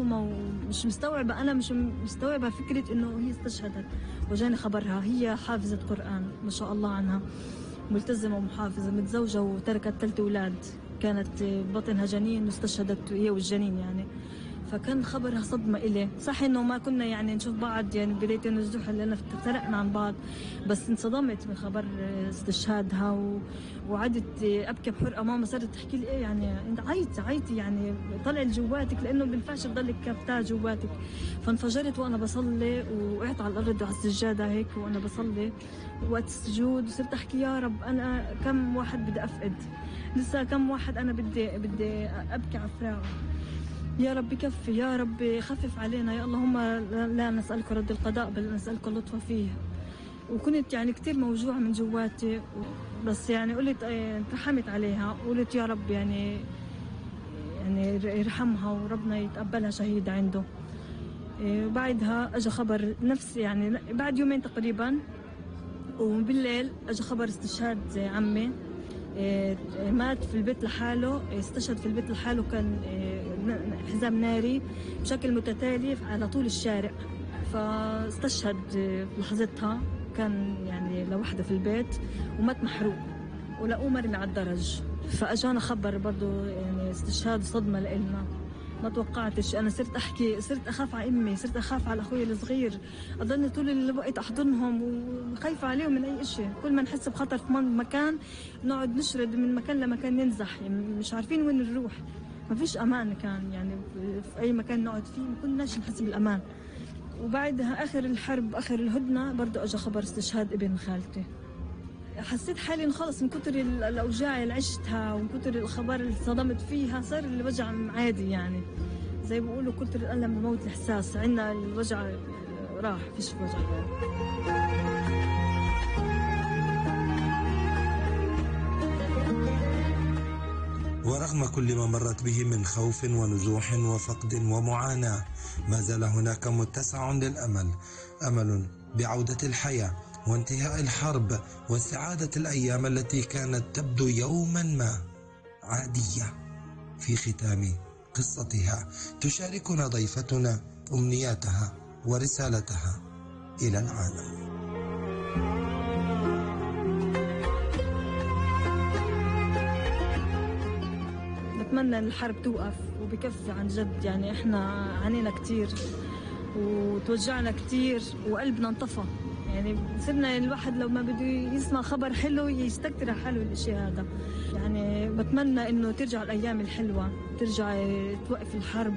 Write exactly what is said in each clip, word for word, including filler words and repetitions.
مصدومة ومش مستوعبة، أنا مش مستوعبة فكرة إنه هي استشهدت. وجاني خبرها، هي حافظة قرآن ما شاء الله عنها، ملتزمة ومحافظة، متزوجة وتركت ثلاث أولاد، كانت بطنها جنين واستشهدت هي والجنين يعني. فكان خبرها صدمة إلي. صح إنه ما كنا يعني نشوف بعض يعني بداية النزوح لأن افترقنا عن بعض، بس انصدمت من خبر استشهادها و... وعدت أبكي بحرقة. ماما صارت تحكي لي إيه يعني أنت عيطي عيطي يعني طلع جواتك، لأنه بنفعش تضلك كافتها جواتك. فانفجرت وأنا بصلي، وقعت على الأرض على السجادة هيك وأنا بصلي وقت السجود، وصرت أحكي يا رب أنا كم واحد بدي أفقد، لسه كم واحد أنا بدي بدي أبكي على فراقه. يا رب كفي، يا رب خفف علينا يا اللهم، لا نسألك رد القضاء بل نسألك اللطف فيه. وكنت يعني كتير موجوعة من جواتي، بس يعني قلت ترحمت عليها، قلت يا رب يعني يعني يرحمها وربنا يتقبلها شهيدة عنده. وبعدها اجى خبر نفس يعني بعد يومين تقريبا، وبالليل اجى خبر استشهاد عمي. مات في البيت لحاله، استشهد في البيت لحاله، كان حزام ناري بشكل متتالي على طول الشارع. فاستشهد لحظتها، كان يعني لوحده في البيت ومات محروق، ولقوه مرمي على الدرج. فاجانا خبر برضو يعني استشهاد، صدمة لإلنا ما توقعتش. انا صرت احكي، صرت اخاف على امي، صرت اخاف على اخوي الصغير، اضلني طول الوقت احضنهم وخايفه عليهم من اي شيء. كل ما نحس بخطر في مكان نقعد نشرد من مكان لمكان، ننزح يعني مش عارفين وين نروح، ما فيش امان كان يعني في اي مكان نقعد فيه، ما كناش نحس بالامان. وبعدها اخر الحرب اخر الهدنه برضه اجى خبر استشهاد ابن خالتي. حسيت حالي خلص من كتر الاوجاع اللي عشتها ومن كتر الخبر اللي صدمت فيها، صار الوجع عادي يعني، زي ما بيقولوا كتر الالم بموت الاحساس، عندنا الوجع راح فيش وجع يعني. ورغم كل ما مرت به من خوف ونزوح وفقد ومعاناة، ما زال هناك متسع للأمل، أمل بعودة الحياة وانتهاء الحرب واستعادة الأيام التي كانت تبدو يوما ما عادية. في ختام قصتها تشاركنا ضيفتنا أمنياتها ورسالتها إلى العالم. بتمنى ان الحرب توقف وبكفي عن جد يعني. احنا عانينا كتير وتوجعنا كتير وقلبنا انطفى يعني، صرنا الواحد لو ما بده يسمع خبر حلو يستكتر على حاله الاشي هذا يعني. بتمنى انه ترجع الايام الحلوه، ترجع توقف الحرب،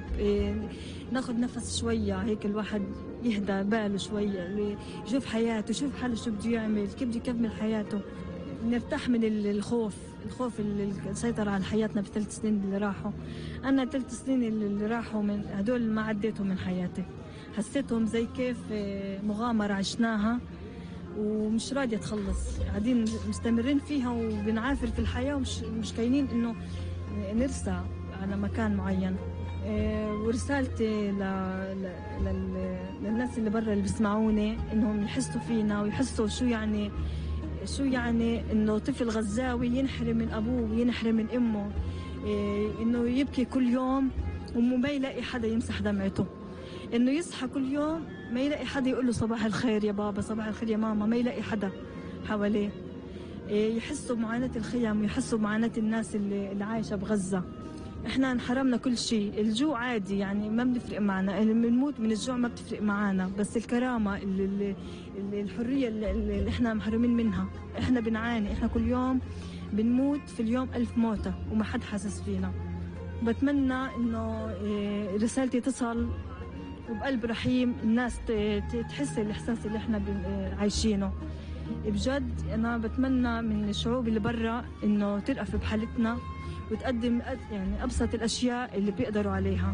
ناخد نفس شويه هيك، الواحد يهدى باله شويه، يشوف حياته، يشوف حاله شو بده يعمل، كيف بده يكمل حياته، نرتاح من الخوف الخوف اللي سيطر على حياتنا بالثلاث سنين اللي راحوا. أنا ثلاث سنين اللي راحوا من هدول ما عديتهم من حياتي، حسيتهم زي كيف مغامرة عشناها ومش راضية تخلص، قاعدين مستمرين فيها وبنعافر في الحياة ومش مش كاينين إنه نرسى على مكان معين. ورسالتي ل... ل... للناس اللي برا اللي بيسمعوني إنهم يحسوا فينا ويحسوا شو يعني شو يعني إنه طفل غزاوي ينحرم من أبوه وينحرم من أمه، إيه إنه يبكي كل يوم وما يلاقي حدا يمسح دمعته، إنه يصحى كل يوم ما يلاقي حدا يقول له صباح الخير يا بابا، صباح الخير يا ماما، ما يلاقي حدا حواليه. إيه يحسوا بمعاناة الخيام ويحسوا بمعاناة الناس اللي, اللي عايشة بغزة. إحنا انحرمنا كل شيء، الجوع عادي يعني ما بنفرق معنا، بنموت من الجوع ما بتفرق معنا، بس الكرامة اللي اللي الحرية اللي, اللي إحنا محرومين منها، إحنا بنعاني، إحنا كل يوم بنموت في اليوم ألف موتة وما حد حاسس فينا. بتمنى إنه رسالتي تصل وبقلب رحيم، الناس تحس الإحساس اللي إحنا عايشينه بجد. أنا بتمنى من الشعوب اللي برا إنه ترأف بحالتنا وتقدم يعني أبسط الأشياء اللي بيقدروا عليها.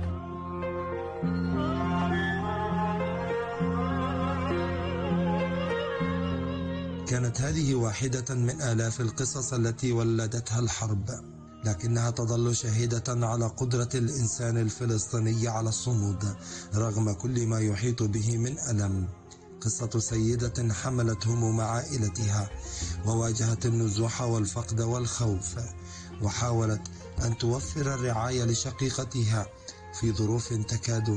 كانت هذه واحدة من آلاف القصص التي ولدتها الحرب، لكنها تظل شاهدة على قدرة الإنسان الفلسطيني على الصمود رغم كل ما يحيط به من ألم. قصة سيدة حملت هموم عائلتها وواجهت النزوح والفقد والخوف، وحاولت أن توفر الرعاية لشقيقتها في ظروف تكاد